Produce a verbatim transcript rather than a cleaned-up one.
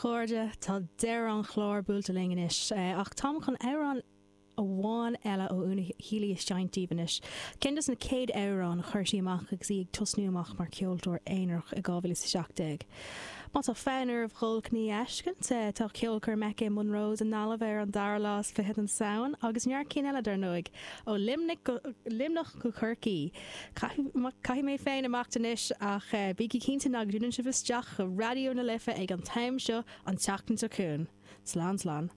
Chairde tá deireadh an chláir buailte linn anois ach táim chun amhrán amháin eile ó Úna Healy a sheinnt daoibh anois. Ceann des na céad amhráin a chuir sí amach agus í ag tosnú amach mar ceoltóir aonarach i dhá mhíle is a seacht déag. Má tá fonn oraibh dul chun í a fheiscint, tá ceolchoirm aici i Monroe's i nGaillimh ar an dara lá is fiche den Samhain agus neart cinn eile dar ndóigh ó Luimneach go Corcaigh. Caithfidh mé féin imeacht anois ach bígí cinnte nach dúnann sibh isteach go Raidió na Life ag an t-am seo an tseachtain seo chugainn. Slán slán.